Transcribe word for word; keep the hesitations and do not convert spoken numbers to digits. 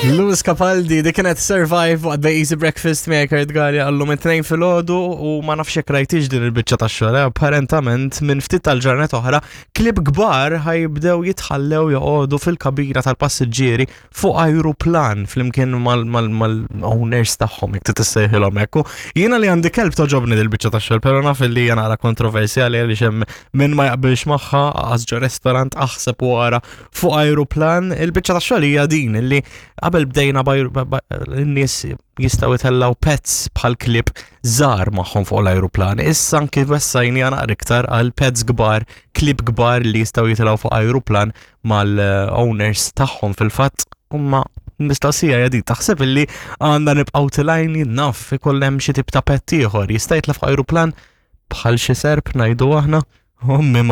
Lewis Capaldi, dik kienet Survive waqt The Easy Breakfast miegħek Kurt Galea għallum it-tnejn filgħodu u ma nafx jekk rajtix din il-biċċa tax-xogħol, eh, apparentament minn ftit tal-ġranet oħra klieb kbar ħa jibdew jitħallew joqogħdu fil-kabina tal-passiġġieri fuq ajruplan flimkien mal-owners tagħhom jekk tissejħilhom hekk. U Jiena li għandi kelb togħġobni din il-biċċa tax-xogħol, però naf li hija naqra kontroversjali għaliex hemm min ma jaqbilx magħha għax ġo restaurant aħseb wara fuq ajruplan. Il-biċċa tax-xogħol hija din illi qabel bdejna n-nies jistgħu jitellaw pets bħal klieb żgħar magħhom fuq l-ajruplan. Issa anki wessajni naqra iktar għal pets kbar, klieb kbar li jistgħu jitilgħu fuq ajruplan mal-owners tagħhom fil-fatt. Imma mistoqsija hija din, taħseb illi għandna nibqgħu tilajni naf ikoll hemm xi tip ta' pet ieħor jista' jitla' fuq ajruplan bħal xi serp ngħidu aħna? Ommi